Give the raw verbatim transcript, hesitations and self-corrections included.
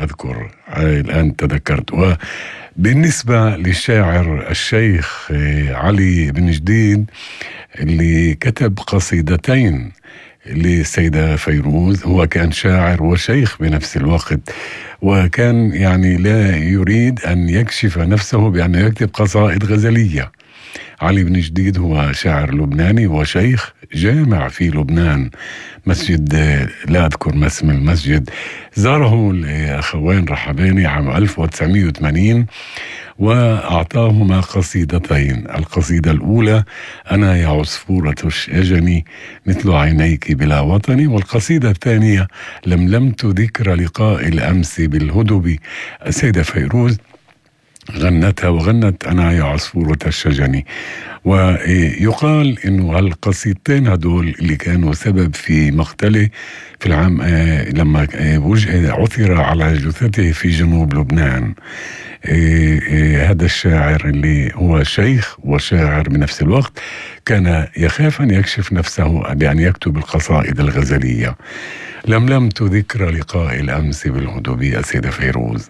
أذكر الآن تذكرت. وبالنسبة للشاعر الشيخ علي بن جديد اللي كتب قصيدتين للسيدة فيروز، هو كان شاعر وشيخ بنفس الوقت، وكان يعني لا يريد أن يكشف نفسه بأنه يكتب قصائد غزلية. علي بن جديد هو شاعر لبناني وشيخ جامع في لبنان، مسجد لا أذكر ما اسم المسجد، زاره الأخوين رحباني عام ألف وتسعمائة وثمانين وأعطاهما قصيدتين. القصيدة الأولى: أنا يا عصفورة الشجن مثل عينيك بلا وطني، والقصيدة الثانية: لملمت ذكر لقاء الأمس بالهدب. السيدة فيروز غنتها وغنت أنا يا عصفورة الشجن. ويقال إنه هالقصيدتين هدول اللي كانوا سبب في مقتله في العام لما عثر على جثته في جنوب لبنان. هذا الشاعر اللي هو شيخ وشاعر بنفس الوقت كان يخاف أن يكشف نفسه بأن يكتب القصائد الغزلية. لملمت ذكر لقاء الأمس بالهدب، السيدة فيروز.